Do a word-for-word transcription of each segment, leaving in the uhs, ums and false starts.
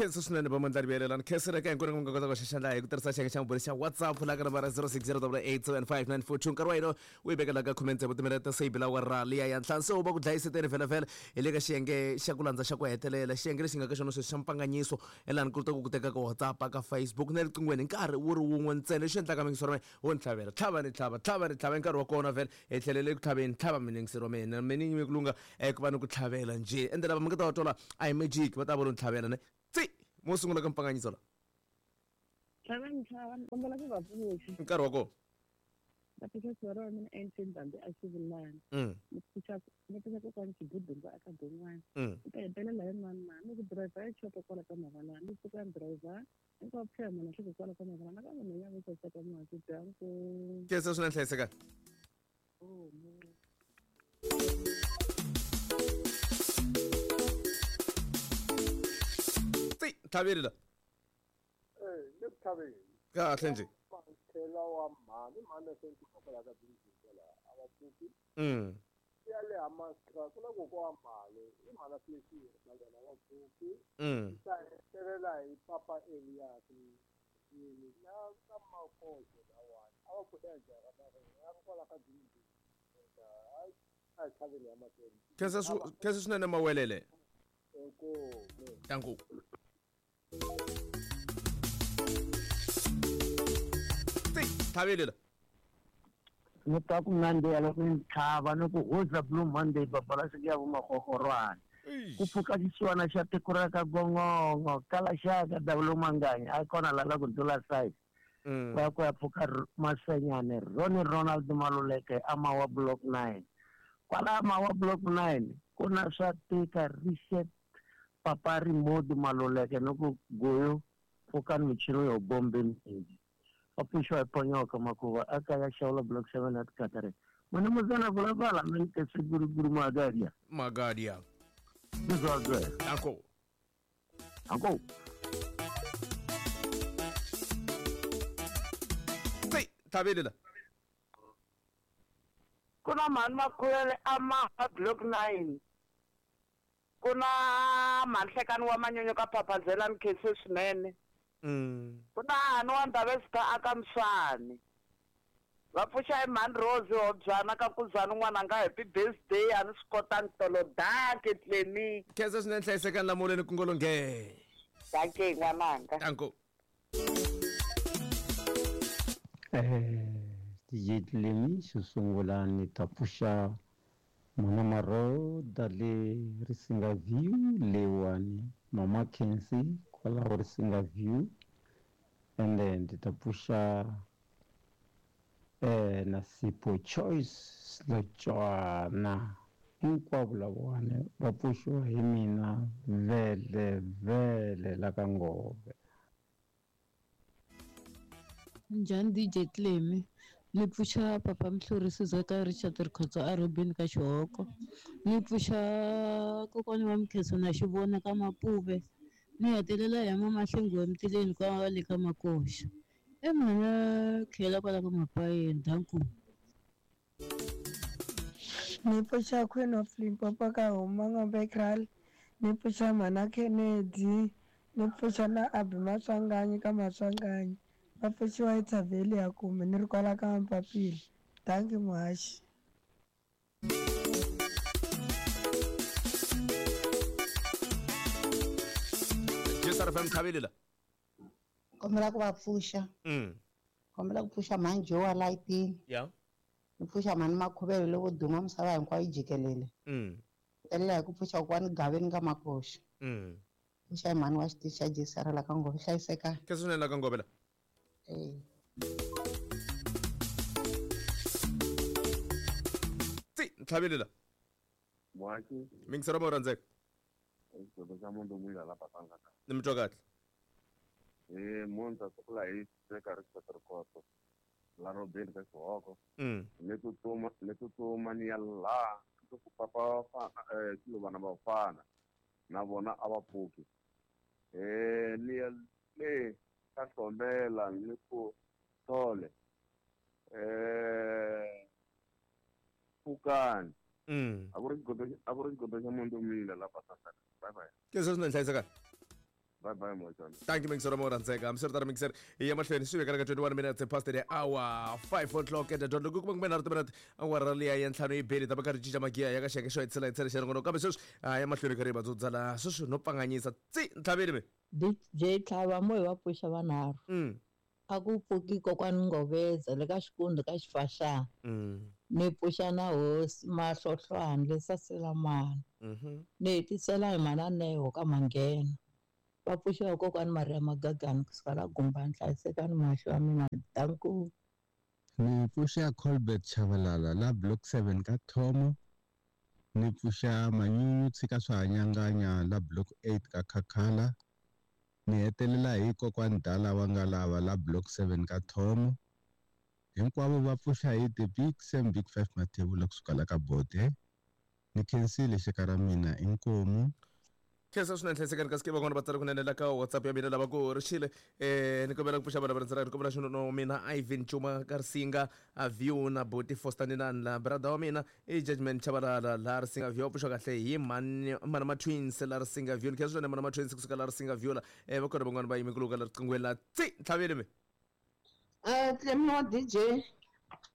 Khensa swinene va mandlari vuyelelani khensela ka hinkwenu ku nga kota ku xaxandla hi ku tirhisa xiyenge xa mabulu xa WhatsApp la ka nambara zero six zero double eight seven five nine four two. Nkarhi wa hina wu yi vekela ka khume tsevu timinete ta seyi bila awara liya ya ntlhanu. Se wu va ku dlayiseteni vhele vhele hi le ka xiyenge xa ku landza xa ku hetelela, xiyenge lexi nga ka xona sweswi xa mpanganyiso elani ku ta ku ku teka ka WhatsApp, ka Facebook na le riqinghweni hi nkarhi wu ri wun'we ntsena. Lexi endlaka mingisero wa mina wo ni tlhavela tlhava ni tlhava tlhava ni tlhava hi nkarhi wa kona vhele hi tlhelele ku tlhaveni tlhava mingisero wa mina mina ni ku lunga eh, ku va ni ku tlhavela njhe ende lava mi nga ta va twala a hi magic va ta va lo ni tlhavela ne tsi mo sungula ka mpanganyiso la. Tlhava ni tlhava, ni kombela ku va pfuxa. Nkarhi wa kona. Va pfuxa sivara wa mina Einstein Bambi a xivulana. Mm. Ni pfuxa ni pfuxa kokwani Xibudungu a ka Bon'wana. Mm. Ni ta hetelela hi mani mani ni ku driver ya chopa kwala ka Mavalana ni pfuka ni driver hinkwavo pfuxa munhu hleke kwala ka Mavalana ka munhu ya vo saseka muhasi danko. Khensa swinene hlayisekani. Oh no. Tsi tlhaveli la. Eh, le ku tlhaveni. Kahle nje. Tlhela wa mhani mhani se ndzi kwala ka bindzu la a va pfuki. Mm. Ya le Hammanskraal ku na kokwa wa mali i mhana Fletcher na yena va pfuki. Mm. Ta hetelela hi papa Elias yini na ka makozo lawani a va pfuka njhani na ya kwala ka bindzu. A hi tlhaveni ya mahlweni. Khensa swi khensa swinene mawelele. Inkomu. Danko. Tsi tlhaveli la. Ni twa ku nandziha loko ni tlhava ni ku huza Blue Monday babalasi ya vumahorhorwana. Ku pfuka xisiwana xa tiko ra ka Gongongo kala xaka Double Manganya a kona la la ku ndlula size. Mm. Ku ya ku ya pfuka Masenyane Ronnie Ronald Maluleke a Mawa Block nine. Kwala Mawa Block nine ku na swa tika reset papa Remote Maluleke ni ku goyo pfukani michini yo bombe mingi. Va pfuxiwa hi ponyoka makuva a kaya xawula Block seven at Katare. Mani muzana vulavala mani ke siguruguru magadia. Magadia. Bizazwe. Danko. Danko. Tsi tlhaveli la. Ku na mhani Makhulele a Mawa Block nine. Ku na mhanhlekani wa manyunyu ka Phaphazela Mkhensi swinene. Mm. Ku na hani wa Ndhavezitha aka Mswani. Va pfuxa hi mhani Rose Hobyana ka Kuzani n'wana nga happy birthday a ni swi kotangi tolo danke Clemi. Khensa swinene hlayisekani lamuleni ku ngolonge. Danke n'wananga. Danko. Eh, D J Clemi xo sungula ni ta pfuxa Mama Maroda le Risinga View lewani Mama Kensi kwalaho Risinga View and then ndi ta pfuxa eh na Sipho Choice Slotswana hinkwavo lavawani va pfuxiwa hi mina vele vele la ka Ngove. Njhani D J Clemi? Ni pfuxa papa Mhlurisi Zaka Richard Rikhotso a Robin ka Xihoko. Ni pfuxa kokwani wa Mkhenso na Xivona ka Mapuve. Ni hetelela hi mama Hlengiwe Mtileni kwa le ka Makoxa. E mhana tlhela kwala ka Mapayeni danku. Ni pfuxa Queen of Limpopo ka Huma Ngombe Kraal. Ni pfuxa mhana Kennedy. Ni pfuxa na Abi Maswanganyi ka Maswanganyi. Va pfuxiwa hi Thaveli ya kume ni ri kwala ka Mpapile. Danki muhaxi. J S R F M tlhaveli la. Kombela ku va pfuxa. Mm. Kombela ku pfuxa mhani Joe Lightning. Yeah. Ni pfuxa mhani Makhuvele lowo duma misava hinkwayo yi jikelele. Mm. Hetelela hi ku pfuxa kokwani Gaveni ka Makoxa. Mm. Pfuxa hi mhani wa xitichi xa J S R la ka Ngove hlayisekani. Khensa swinene la ka Ngove la. Eh. Tsi tlhaveli la. Muhaki. Mingisero mo rhandzeka. Xidlodlo xa munhu n'wina la pasanga ka. Ni mi twa kahle. Eh, munhu sukula hi teka Richard Rikhotso la Robin ka Xihoko. Mm. Ni tsutsuma ni tsutsuma ni ya laha ku papa fa eh vana va fana na vona a va pfuki. Eh ni ya le ka Hlombela ni ku Thole. Eh pfukani. Mm. A ku ri xigodo a ku ri xigodo xa munhu mina la pasanga. Bye bye. Khensa swinene hlayisekani. Bye bye moxana. Thank you mixer mo rhandzeka. Hambiswiritano mixer hi ya mahlweni swi vekela ka twenty-one minutes past the hour five o'clock at the dot. Loko ku kuma nharhu timinete awara liya ya ntlhanu yi beli ta va karhi cinca magiya ya ka xiyenge xo hetisela hetisela xa ringono kambe sweswi a ya mahlweni karhi va dzudzala sweswi no pfanganyisa tsi ntlhaveni mi D J Tlhava mo hi va pfuxa vanharhu. Mm. A ku pfuki kokwani Ngoveza le ka Xikundzu ka Xifaxana. Mm. Ni pfuxa na hosi Mahlohlwana le Saselamani. Mhm. Ni hetisela hi mana Neho ka Manghena. Va pfuxiwa kokwani Maria Magagani kusuka la Gumbani. Hlayisekani mahlo ya mina. Danko. Ni pfuxa Colbert Chavalala la block seven ka Thomo. Ni pfuxa Manyunyu tshika swa hanyanganya la block eight ka Khakhala. Ni hetelela hi kokwani Dala wa Ngalava la block seven ka Thomo. Hinkwavo va pfuxa hi the big same big five Mathebula kusuka la ka Bode. Ni khensile xeka ra mina inkomu. Khensa swinene hlayisekani kasi ke van'wana va tsala kunene la ka WhatsApp ya mina lava ku rixile eh ni kombela ku pfuxa vana va rhandzela ni kombela xinono mina Ivan Chuma Karsinga a view na Boti Foster ni na la brother wa mina i Judgment Chabalala la Risinga view pfuxa kahle hi mani mana ma twins la Risinga view. Ni khensa swinene mana ma twins kusuka la Risinga view la eh va kona van'wana va yime ku luka la riqingweni la tsi ntlhaveni mi Eh Clem wa D J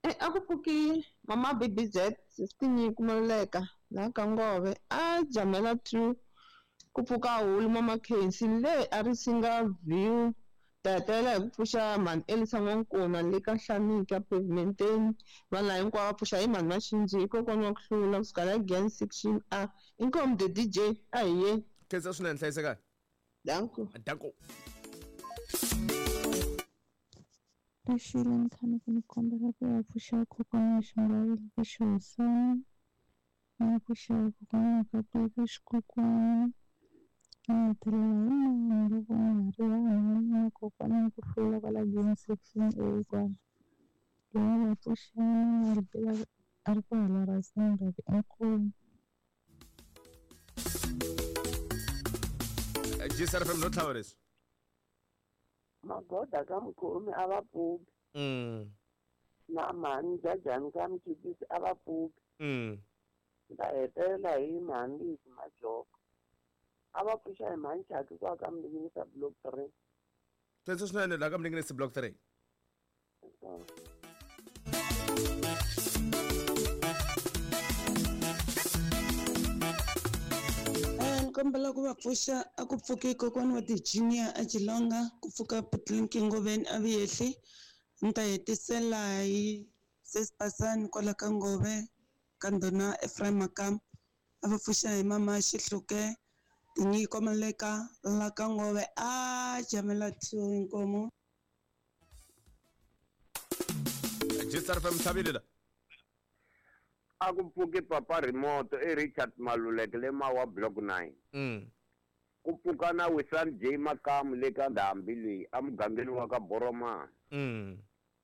eh a ku pfuki mama B B Z sixteen kumaleka la ka Ngove a jamela two ku pfuka hulu mama Khensi le a Risinga view tatela hi ku pfuxa mhani Elisa N'wankuna le ka Hlamika pavementeni vanhu lava hinkwavo va pfuxa hi mhani Maxinji kokwana wa ku hlula kusuka la Gen section A. Inkomu the D J a hi ye. Khensa swinene hlayisekani. Danko. Danko. Rixile ni tshame ku ni kombela ku ya pfuxa kokwana wa Xingwavila ka Xihosana, ni pfuxa kokwana wa Kapuka ka Xikokwani, ni hetelela hi mani loko nga ha ri vanhu na kokwana wa ku hlula kwala Gen section A kwala. Loyi va pfuxana a ri a ri kwala Rustenburg inkomu. G S R F M no tlhava leswi. Magoda ka mukhomi a va pfuki. Mm. Na mhani Jajani ka Mchipisi a va pfuki. Mm. Nda hetelela hi mhani Lizi Majoko. A va pfuxa hi mhani Chaki kwa ka Mninginisa block three. Khensa swinene la ka Mninginisa block three. Kombela ku va pfuxa a ku pfuki kokwani wa Virginia a Chilonga ku pfuka Putlinki Ngoveni a Vuyehli ni ta hetisela hi Sesipasani kwala ka Ngove ka ndhuna Ephraim Makam a va pfuxa hi mama Xihluke Tinyiko Maleka la ka Ngove a jamela two inkomu. G S R F M tlhavile la. A ku pfuki papa remote i Richard Maluleke le Mawa block nine. Mm. Ku pfuka na Wisan J Makamu le ka Ndhambi leyi emugangeni wa ka Boromana. Mm.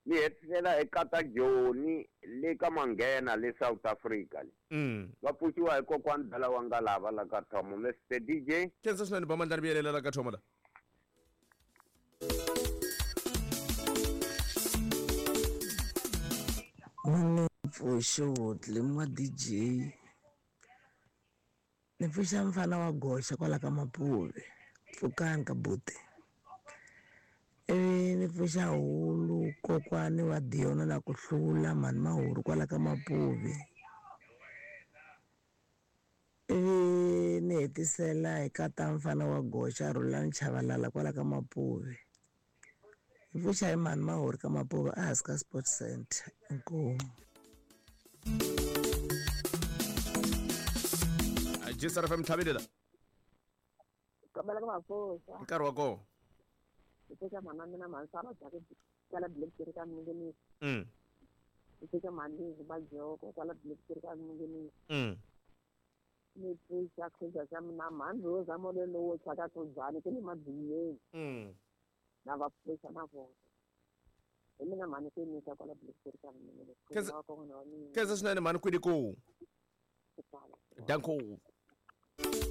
Ni hetisela eka ta Joni le ka Manghena le South Africa le. Mm. Va pfuxiwa hi kokwani Dala wa Ngalava la ka Thomo. Mister D J. Khensa swinene ba mandlani vuyelela la ka Thomo la. Ni pfuxo Clem wa D J. Ni pfuxa mfana wa goxa kwala ka Mapuve. Pfukani ka buti. Ivi ni pfuxa hulu kokwani wa Diona na ku hlula mhani Mahuru kwala ka Mapuve. Ivi ni hetisela hi kata mfana wa goxa Rhulani Chavalala kwala ka Mapuve. Hi pfuxa hi mhani Mahuru ka Mapuve ehansi ka Sports Center. Inkomu. G S R F M tlhavile la. Kombela ku va pfuxa. Nkarhi wa kona. Ku pfuxa mhana mina mhani Sara Jake kwala Black Three ka Mninginisi. Mm. Ku pfuxa mhani Lizi Majoko kwala Black Three ka Mninginisi. Mm. Ni pfuxa khuza xa mina mhani Rosa Mole lowo tshwa ka Khuzani ku le Madziyeni. Mm. Na va pfuxa na vona. Hi mina mhani Kenisa kwala Black Three ka Mninginisi. Khensa swinene mhani kwini ku. Danko.